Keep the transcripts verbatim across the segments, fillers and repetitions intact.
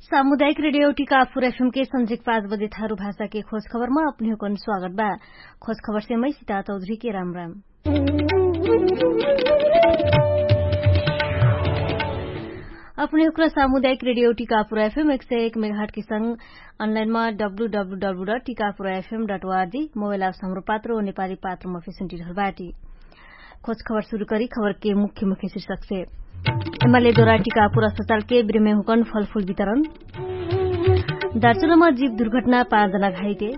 सामुदायिक रेडियो टिकापुर एफएम के सन्झिक पाँच बजे थारु भाषा के खोज खबरमा अपने हुकन स्वागत बा। खोज खबर से मै सिता चौधरी के राम राम। अपने हुकन सामुदायिक रेडियो टिकापुर एफएम एक सय एक मेघाट के संग अनलाइनमा W W W dot Tikapur F M dot O R G mobile आउस हमरो पात्र ओ नेपाली पात्रमा फेसुन्टी रहल बाटी। खोज खबर सुरु करी खबर के मुख्य मुख्य शीर्षक से। एमाले दोरा टिकापुर अस्पताल के बिरमे हुकन फलफुल वितरण। दार्चुलामा जीव दुर्घटना पाँच जना घाइते।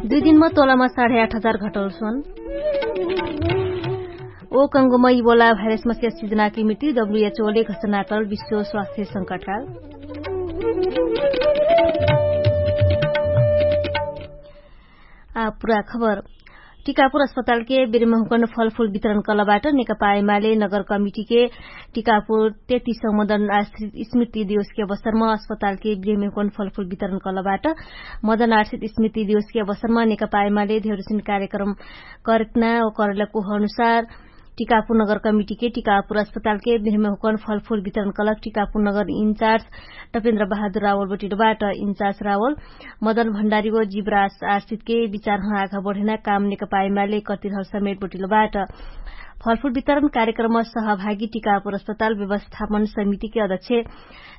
दुई दिनमा तोलामा साढे आठ हजार घटल सोन। ओ कंगोमा इबोला भाइरसमा स्यासी जनाकी मृत्यु डब्लुएचओले घसनातल विश्व स्वास्थ्य संकटकाल। आ पुरा खबर। टिकापुर अस्पतालके बेरेमहुकन फलफुल वितरण कलबाट नेकपा एमाले नगर कमिटीके टिकापुर तेतिस मदन आश्रित स्मृति दिवसके अवसरमा अस्पतालके बेरेमहुकन फलफुल वितरण कलबाट। मदन आश्रित स्मृति दिवसके अवसरमा नेकपा एमाले धेरसिन कार्यक्रम करकना ओ करलको अनुसार टिकापुर नगर कमिटीके टिकापुर अस्पतालके बेरेमहुकन फलफुल वितरण कलक टिकापुर नगर इन्चार्ज टपेन्द्र बहादुर रावल बटिलोबाट। इन्चार्ज रावल मदन भण्डारीको जिब्रास आश्रितके विचारहँ आघा बढेना काम नेकपा एमाले कतिरहल समेट बटिलोबाट। फलफुल वितरण कार्यक्रममा सहभागी टिकापुर अस्पताल व्यवस्थापन समितिके अध्यक्ष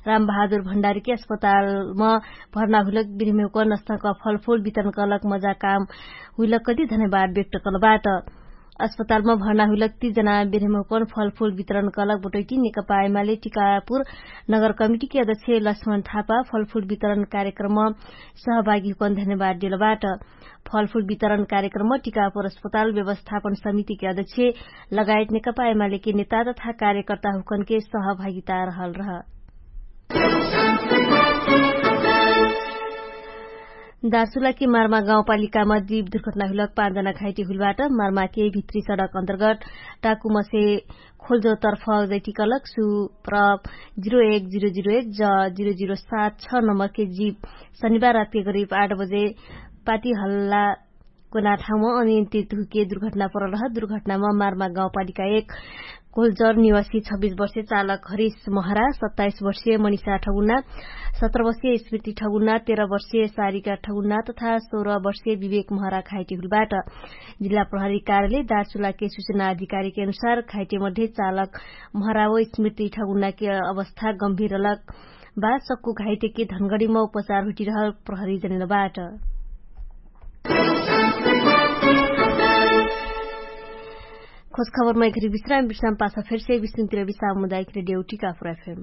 रामबहादुर भण्डारीके अस्पतालमा भर्ना हुइलक बिरमेको नस्तक फलफुल वितरण कलक मजा काम हुइलक कति धन्यवाद व्यक्त कलबाट। अस्पतालमा भर्ना हुइलक ती जना बिरमेको फलफुल वितरण कलक बटैटी नेकपा एमाले टिकापुर नगर कमिटीके अध्यक्ष लक्ष्मण थापा फलफुल वितरण कार्यक्रममा सहभागी हुकन धन्यवाद देलबाट। फलफुल वितरण कार्यक्रममा टिकापुर अस्पताल व्यवस्थापन समितिके अध्यक्ष लगायत नेकपा एमालेके नेता तथा कार्यकर्ता हुकनके सहभागिता रहल रह। दार्चुलाके मार्मा गाउँपालिकामा जीव दुर्घटना हुइलक पाँच जना घाइटी हुइलबाट। मार्माके भित्री सडक अन्तर्गत टाकुमसे खोल्जो तर्फ जैटिकलक सु प्रप जिरो एक जिरो जिरो एक ज जिरो जिरो सात छ नम्बरके जीव शनिबार रातके करिब आठ बजे पाटी हल्ला कोना ठाउँमा अनियन्त्रित हुइके दुर्घटना परल रह। दुर्घटनामा मार्मा गाउँपालिका एक कोल्जर निवासी छब्बिस वर्षे चालक हरिस महरा, सत्ताइस वर्षे मनिषा ठगुना, सत्र वर्षे स्मृति ठगुना, तेह्र वर्षे सारिका ठगुना तथा सोह्र वर्षे विवेक महरा घाइटी हुलबाट। जिल्ला प्रहरी कार्यालय दार्चुलाके सुचना अधिकारीके अनुसार घाइटे मध्ये चालक महराव स्मृति ठगुनाके अवस्था गम्भीर रलक बा सक्कु घाइटेके धनगडीमा उपचार हुटिरहल प्रहरी जनेलबाट। खोज खबरमा एखरी विश्राम विश्राम पाछा फेरसे विष्णुतिर विश्राम मुदायक रेडियो टिकापुर एफएम।